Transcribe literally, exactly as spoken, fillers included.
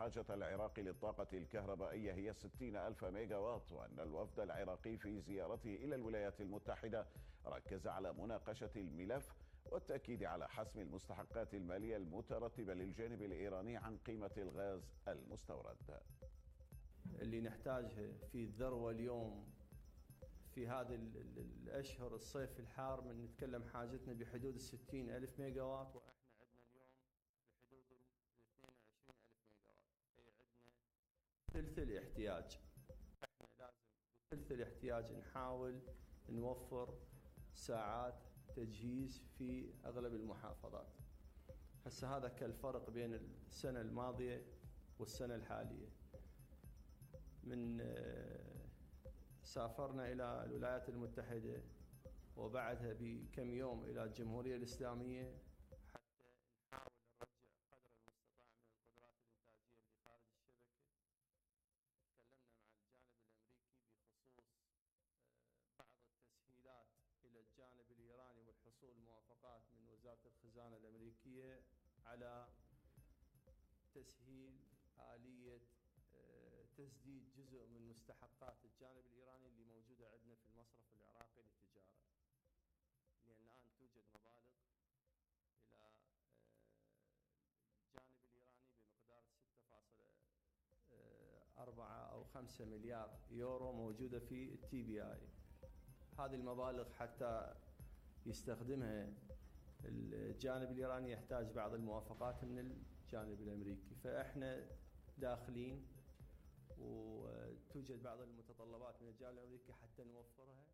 حاجة العراق للطاقة الكهربائية هي ستين ألف ميجا واط، وأن الوفد العراقي في زيارته إلى الولايات المتحدة ركز على مناقشة الملف والتأكيد على حسم المستحقات المالية المترتبة للجانب الإيراني عن قيمة الغاز المستورد. اللي نحتاجها في الذروة اليوم في هذه الأشهر الصيف الحار، من نتكلم حاجتنا بحدود الستين ألف ميجا واط، وإحنا عندنا اليوم بحدود الاثنين وعشرين ألف ميجا واط، أي عندنا ثلث الاحتياج. إحنا لازم بثلث الاحتياج نحاول نوفر ساعات تجهيز في أغلب المحافظات. هسه هذا كالفرق بين السنة الماضية والسنة الحالية. من سافرنا إلى الولايات المتحدة وبعدها بكم يوم إلى الجمهورية الإسلامية حتى نحاول نرجع قدر المستطاع من القدرات الإنتاجية اللي خارج الشبكة. تكلمنا مع الجانب الأمريكي بخصوص بعض التسهيلات إلى الجانب الإيراني والحصول موافقات من وزارة الخزانة الأمريكية على تسهيل آلية تسديد جزء من مستحقات الجانب الإيراني اللي موجودة عندنا في المصرف العراقي للتجارة، لأن الآن توجد مبالغ إلى الجانب الإيراني بمقدار ستة فاصلة أربعة أو خمسة مليار يورو موجودة في التي بي آي. هذه المبالغ حتى يستخدمها الجانب الإيراني يحتاج بعض الموافقات من الجانب الأمريكي، فإحنا داخلين وتوجد بعض المتطلبات من الجانب الأمريكي حتى نوفرها.